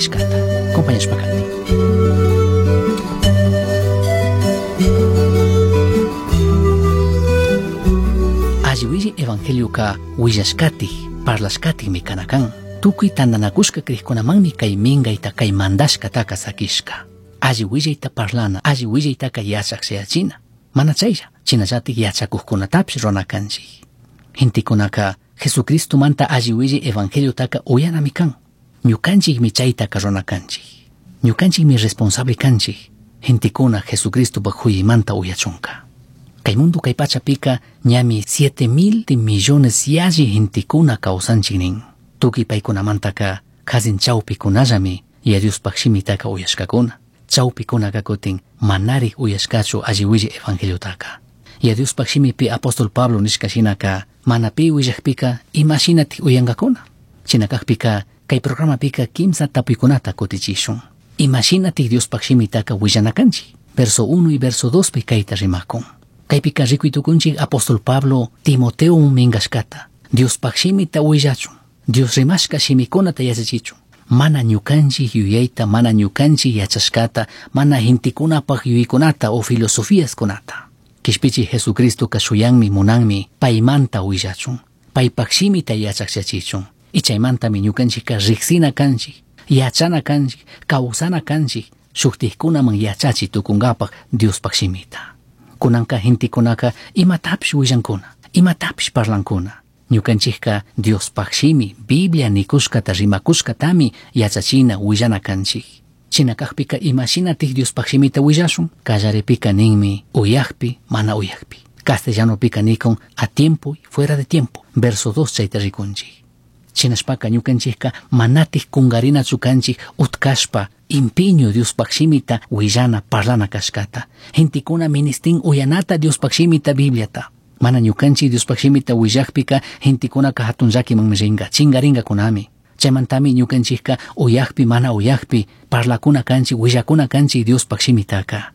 nishkata. Acompañashpa kati. Alli willi evangelioka willashkatik, parlashkatikmi kana kan. Tukuy tantanakushka krikkunamanmi kay minkayta kay mandashkataka sakishka. Alli willayta parlana, alli willaytaka yachak shayachina. Mana chaylla, chinallatik yachakuqkunatapish runa kanchik. Gentekunaka Jesucristomanta alli willi evangeliotaka uyanami kan. Ñukanchikmi chaytaka runa kanchik. Ñukanchikmi responsable kanchik. Gentekuna Jesucristopak huyaymanta uyachunka. Kay mundo kay pachapika ñami 7,000 millones yalli gentekuna kawsanchik nin. Tukuy paykunamantaka kazin chawpikunallami Yaya Diospaj shimitaka uyashkakuna. Chawpikunaka kutin manarik uyashkachu alli willi evangeliotaka. Yaya Diospaj shimipi apóstol Pablo nishka shinaka mana pi willakpika imashinatik uyankakuna. Shina kakpika kay programapika kimsa tapuykunata kutichishun. Imashinatik Diospaj shimitaka willana kanchik. Verso 1 y verso 2 pi kayta rimakun. Kaypika rikuy tukunchik apóstol Pablo Timoteo minkashkata. Diospaj shimita willachun. Dios rimashka shimikunata yachachichun. Mana ñukanchik yuyayta, mana ñukanchik yachashkata, mana gentekunapaj yuyaykunata o filosofíaskunata. Kishpichi Jesucristoka shuyanmi munanmi paymanta willachun. Paypaj shimita yachakchachichun. Y chaymantami ñukanchikka riksina kanchik, yachana kanchik, kawsana kanchik, shuktikkunaman yachachi tukunkapaj Diospaj shimita. Kunanka gentekunaka imatapish willankuna, imatapish parlankuna. Ñukanchikka Diospaj shimi, Biblia nikushkata rimakushkatami yachachina willana kanchik. Shina kakpika imashinatik Diospaj shimita willashun? Kallaripika ninmi uyakpi, mana uyakpi. Castellanopika nikun a tiempo y fuera de tiempo. Verso 2 chayta rikunchik. Shinashpaka ñukanchikka manatik kungarinachu kanchik utkashpa impiño Diospaj shimita willana parlana kashkata. Gentekuna ministin uyanata Diospaj shimita Bibliata. Mana ñukanchik Diospaj shimita willakpika gentekunaka hatun llakimanmi rinka, chingarinkakunami. Chaymantami ñukanchikka uyakpi mana uyakpi parlakuna kanchik, willakuna kanchik Diospaj shimitaka.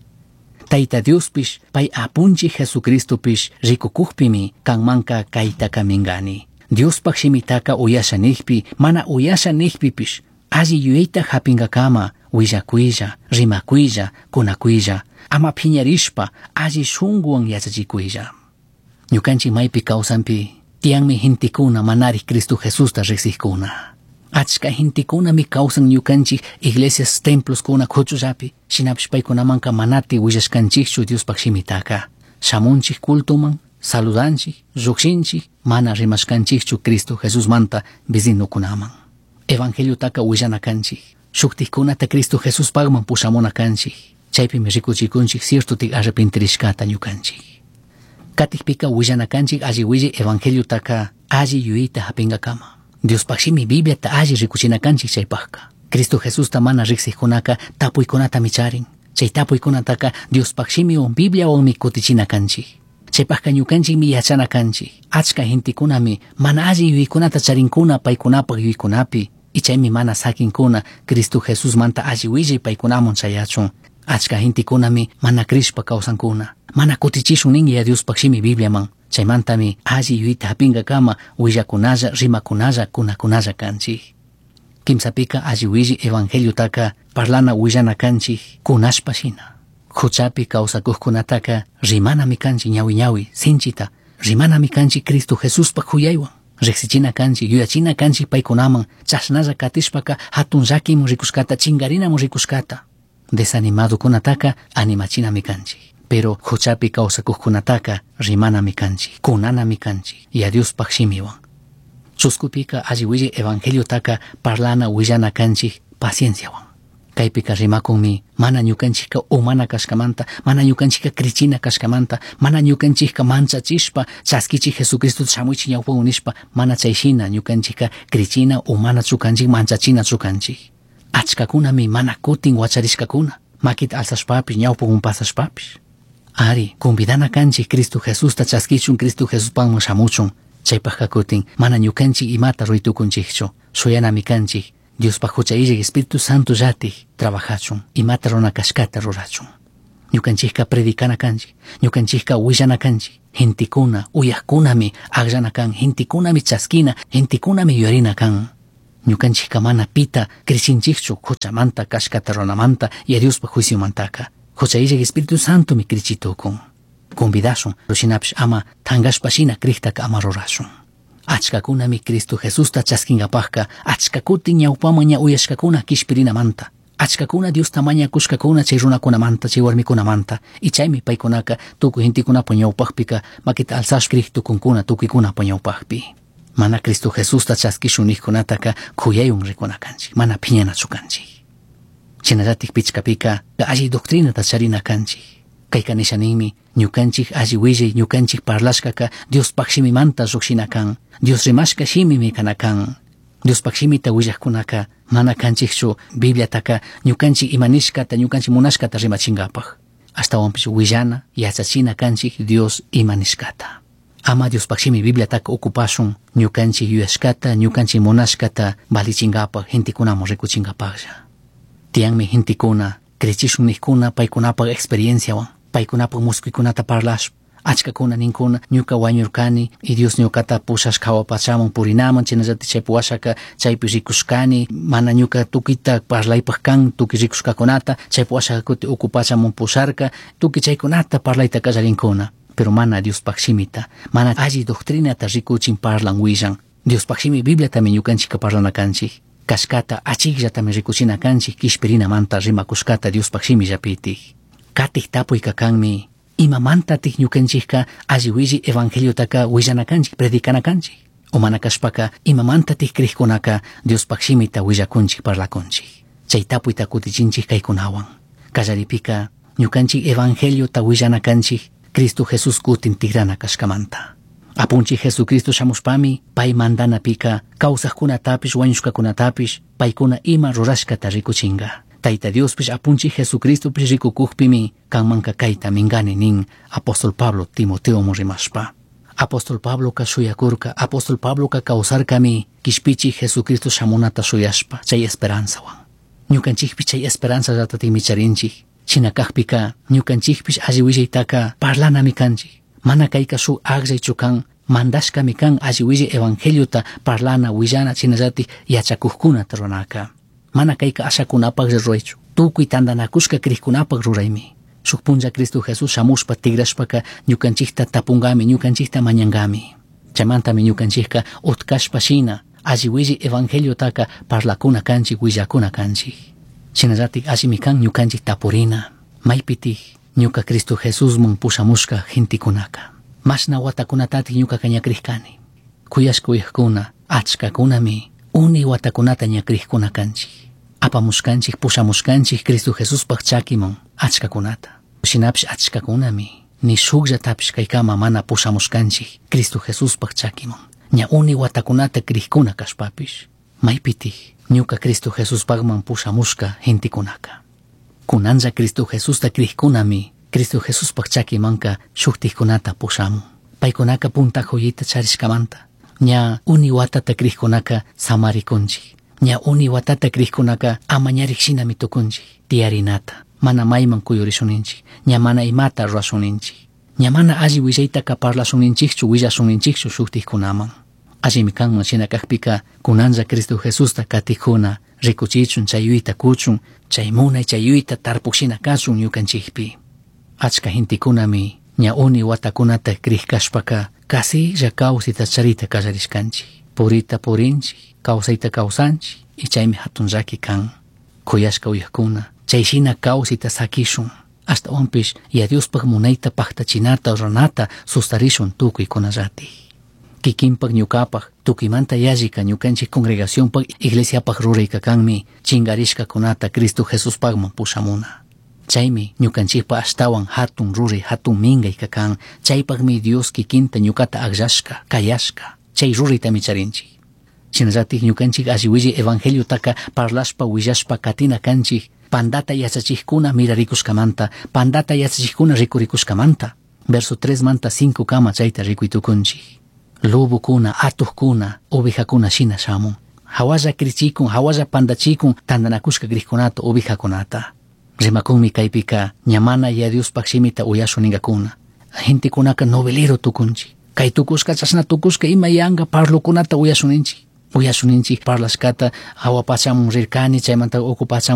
Tayta Diospish pay apunchik Jesucristopish rikukukpimi kanmanka kaytaka minkani. Diospaj shimitaka uyasha nikpi, mana uyasha nikpipish, alli yuyayta hapinkakama willakuylla, rimakuylla, kunakuylla, ama phiñarishpa alli shunkuwan yachachikuylla. Ñukanchik maypi kawsanpi tiyanmi gentekuna manarik Cristo Jesusta riksikkuna. Achka gentekunami kawsan ñukanchik iglesias temploskuna kuchullapi, shinapish paykunamanka manati willashkanchikchu Diospaj shimitaka. Shamunchik cultoman, saludanchik, llukshinchik, mana rimashkanchikchu Cristo Jesusmanta vecinukunaman. Evangeliotaka willana kanchik, shuktikkunata Cristo Jesuspajman pushamuna kanchik. Chaypimi rikuchikunchik ciertotik arrepentirishkata ñukanchik. Katikpika willana kanchik alli willi evangeliotaka alli yuyayta hapinkakama. Diospaj shimi Bibliata alli rikuchina kanchik chaypajka. Cristo Jesusta mana riksikkunaka tapuykunatami charin. Chay tapuykunataka Diospaj shimiwan Bibliawanmi kutichina kanchik. Chaypajka ñukanchikmi yachana kanchik. Achka gentekunami mana alli yuyaykunata charinkuna paykunapaj yuyaykunapi. Y chaymi mana sakinkuna Cristo Jesusmanta alli willay paykunaman chayachun. Achka gentekunami mana crishpa kawsankuna. Mana kutichishun nin Yaya Diospaj shimi Bibliaman. Chaymantami alli yuyayta hapinkakama willakunalla, rimakunalla, kunakunalla kanchik. Kimsapika alli willi evangeliotaka parlana willana kanchik kunashpa shina. Huchapi kawsakuqkunataka rimanami kanchik ñawi ñawi sinchita, rimanami kanchik Cristo Jesuspaj huyaywan. Riksichina kanchik, yuyachina kanchik paykunaman, chashnalla katishpaka hatun llakiman rikushkata, chingarinaman rikushkata. Desanimadokunataka animachinami kanchik. Pero huchapi kawsakuqkunataka rimanami kanchik, kunanami kanchik, Yaya Diospaj shimiwan. Chuskupika alli willi evangeliotaka parlana willana kanchik pacienciawan. Kaypika rimakunmi mana ñukanchikka umana kashkamanta, mana ñukanchikka krichina kashkamanta, mana ñukanchikka manchachishpa chaskichik Jesucristo shamuichik ñawpawan nishpa, mana chayshina ñukanchikka krichina umanachu kanchik, manchachinachu kanchik. Achkakunami mana kutin wacharishkakuna, makita alzashpapish ñawpawan pasashpapish. Ari, convidana kanchik Cristo Jesusta chaskichun, Cristo Jesuspanman shamuchun. Chaypajka kutin mana ñukanchik imata ruytukunchikchu, shuyanami kanchik Diospaj hucha illak Espíritu Santo llatik trabajachun, imata runa kashkata rurachun. Ñukanchikka predicana kanchik, ñukanchikka willana kanchik, gentekuna, uyajkunami akllana kan, gentekunami chaskina, gentekunami yuyarina kan. Ñukanchikka mana pita crichinchikchu huchamanta kashkata runamanta y Diospaj juiciomantaka. Hucha illak Espíritu Santomi crichitukun. Convidashun, shinapish ama tangashpa shina criktaka ama rurashun. Achkakunami Cristo Jesusta chaskinkapajka achkakutin ñawpaman ña uyashkakuna kishpirinamanta. Achkakuna Diosta mañakushkakuna chay runakunamanta, chay warmikunamanta. Y chaymi paykunaka tukuy gentekunapa ñawpajpika makita alzashpa crik tukunkuna tukuykunapa ñawpajpi. Mana Cristo Jesusta chaskishun nijkunataka kuyaywan rikuna kanchik, mana phiñanachu kanchik. Shinallatik pichkapika alli doctrinata charina kanchik. Kayka nisha ninmi ñukanchik alli willay ñukanchik parlashkaka Diospaj shimimanta llukshina kan, Dios rimashka shimimi kana kan. Diospaj shimita willajkunaka mana kanchikchu Bibliataka ñukanchik ima nishkata ñukanchik munashkata rimachinkapaj. Ashtawanpish willana yachachina kanchik Dios ima nishkata. Ama Diospaj shimi Bibliataka ocupashun ñukanchik yuyashkata ñukanchik munashkata valichinkapaj gentekunaman rikuchinkapajlla. Tiyanmi gentekuna crechishun nijkuna paykunapaj experienciawan, paykunapaj muskuykunata parlashpa, achkakuna ninkuna ñuka wañurkani y Dios ñukata pushashka hawa pachaman purinaman, chaynallatik chaypi washaka chaypi rikushkani, mana ñuka tukuyta parlaypaj kan tukuy rikushkakunata, chaypi washaka kuti uku pachaman pusharka, tukuy chaykunata parlayta kallarinkuna. Pero mana Diospaj shimita, mana alli doctrinata rikuchin parlan willan. Diospaj shimi Bibliatami ñukanchikka parlana kanchik. Kashkata achikllatami rikuchina kanchik kishpirinamanta rimakushkata Diospaj shimillapitik. Katik tapuyka kanmi, imamantatik ñukanchikka alli willi evangeliotaka willana kanchik, predicana kanchik. O mana kashpaka imamantatik krikkunaka Diospaj shimita willakunchik parlakunchik. Chay tapuyta kutichinchik kaykunawan. Kallaripika ñukanchik evangeliota willana kanchik Cristo Jesús kutin tigrana kashkamanta. Apunchik Jesucristo shamushpami pay mandanapika kawsajkunatapish wañushkakunatapish paykuna ima rurashkata rikuchinga. Tayta Diospish apunchik Jesucristopish rikukukpimi kanmanka kayta mingani nin apóstol Pablo Timoteoman rimashpa. Apóstol Pabloka shuyakurka, apóstol Pabloka kawsarkami kishpichik Jesucristo shamunata shuyashpa chay esperanzawan. Ñukanchikpish chay esperanzallatatikmi charinchik. Shina kajpika ñukanchikpish alli willaytaka parlanami kanchik. Mana kayka shuk akllaychu kan, mandashkami kan alli willay evangeliota parlana willana shinallatik yachakukkunata ruranaka. Mana kayka ashakunapaklla ruraychu, tukuy tantanakushka krikkunapak ruraymi. Shuk punlla Cristo Jesús shamushpa tigrashpaka ñukanchikta tapunkami, ñukanchikta mañankami. Chaymantami ñukanchikka utkashpa shina alli willay evangeliotaka parlakuna kanchik, willakuna kanchik. Shinallatik allimi kan ñukanchik tapurina, maypitik ñuka Cristo Jesusman pushamushka gentekunaka. Mashna watakunatatik ñukaka ñakrishkani. Kuyashka uyajkuna, achkakunami uni watakunata ñakrishkuna kanchik. Apamushkanchik, pushamushkanchik Cristo Jesuspaj chakiman achkakunata. Shinapish achkakunami ni shukllatapish kaykama mana pushamushkanchik Cristo Jesuspaj chakiman. Ña uni watakunata krishkuna kashpapish. Maypitik ñuka Cristo Jesuspajman pushamushka gentekunaka. Kunanlla Cristo Jesusta krishkunami Cristo Jesuspaj chakimanka shuktikkunata pushamun. Paykunaka punta joyita charishkamanta. Ña uni watata krishkunaka samarikunchik. Ña uni watata krishkunaka amañarik shinami tukunchik. Tiyarinata. Mana mayman kuyurishuninchik. Ña mana imata rurashuninchik. Ña mana alli willaytaka parlashunninchikchu willashunninchikchu shuktikkunaman. Allimi kanman shina kajpika kunanlla Cristo Jesusta katikuna rikuchichun chay yuyta kuchun chay munay chay yuyta tarpuk shina kachun ñukanchikpi. Achka gentekunami ña uni watakunata krishkashpaka kasilla kawsayta charita kallarishkanchik. Purita purinchik, kawsayta kawsanchik y chaymi hatun llaki kan. Kuyashka uyajkuna, chay shina kawsayta sakishun. Ashtawanpish ya Diospaj munayta paktachinata ruranata sustarishun tukuykunallatik. Kikinpak ñukapak tukuymanta yallika ñukanchik congregacionpak iglesiapaj rurayka kanmi chinkarishkakunata Cristo Jesuspajman pushamuna. Chaymi ñukanchikpa ashtawan hatun ruray hatun minkayka kan, chaypakmi Dios kikinta ñukata akllashka, kayashka, chay ruraytami charinchik. Shinallatik ñukanchik alli willay evangeliotaka parlashpa willashpa katina kanchik, pandata yachachikkuna mirarikushkamanta, pandata yachachikkuna rikurikushkamanta. Verso 3 manta 5 kama chayta rikuytukunchik. Lobokuna, atukkuna, ovejakuna shina shamun. Hawalla krichikun, hawalla pandachikun, tantanakushka krikkunata, ovejakunata. Rimakunmi kaypika ñamana ya Diospaj shimita uyashun ninkakuna. Gentekunaka novelero tukunchik. Kay tukushka, chashna tukushka ima yanka parlokunata uyashun ninchik. Uyashun ninchik parlashkata, jahua pachamun rirkani, chaymanta uku pachamun.